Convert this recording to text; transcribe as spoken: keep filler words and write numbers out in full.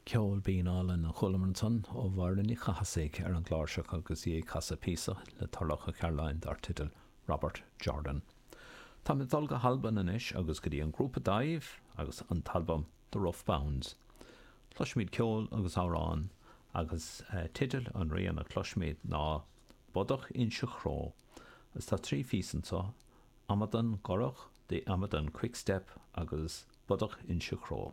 Ceol binn álainn a chualamar ansan ó Mháire Ní Chathasaigh ar an gcláirseach agus í ag casadh píosa le Turlough Ó Cairealláin dar teideal Robert Jordan. Tá mé dul go hAlbain anois agus go dtí an grúpa Dàimh agus an t-albam The Rough Bounds. Cloisfimid ceol agus amhrán agus uh, teideal an rian a chloisfimid ná Bodach Inse Chró. Agus tá trí phíosa anseo, Amadan Corrach, The Amadan Quickstep agus Bodach Inse Chró.